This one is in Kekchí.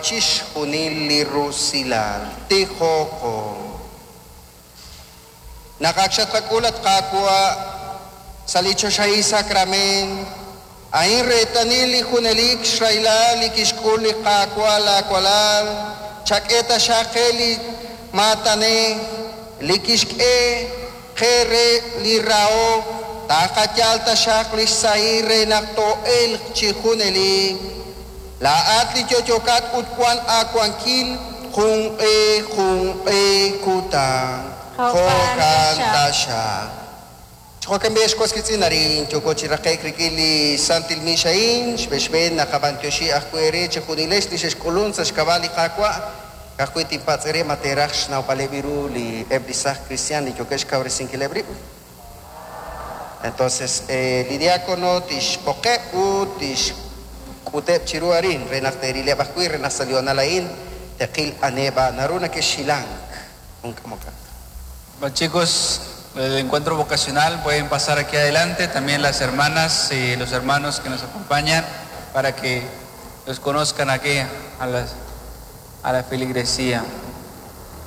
Chixjunil li rusilal. Tijoqo. Naq ak xatqak'ul, at Qaawa', sa' li choxahil sakrament, a'in reetalil li junelik xrahilal li kixk'ul li Qaawa' laawalal, chak'e taxaq qe li maatan li kixk'e qe re li rahok, taqayal taxaq li xsahil re naq too'elq chi junelik. Laa'at li yo'yokat ut wan aawankil junq'e junq'e kutan. Jo'kan taxaq. Jo'kan b'i' ex was wiitz'in arin yooko chi raqe'k rik'in li Santil Misa a'in, xb'een naqab'antioxi ajwi' eere chejunilex li xexk'ulun sa' xk'ab'a' li Qaawa'. Ka'ajwi' tinpatz' eere ma teeraj xnawb'aleb' ru li eb' li saaj kristiaan li yookeb' xkawresinkileb' rib'. Entonces, li diácono tixb'oqeb' ut tixk'uteb' chiru arin re naq teerileb' ajwi' re naq sa' li hoonal a'in teqil aniheb' naru nakexhilank jun k'amokaq. Bueno, chicos del encuentro vocacional pueden pasar aquí adelante, también las hermanas y los hermanos que nos acompañan para que los conozcan aquí a la feligresía.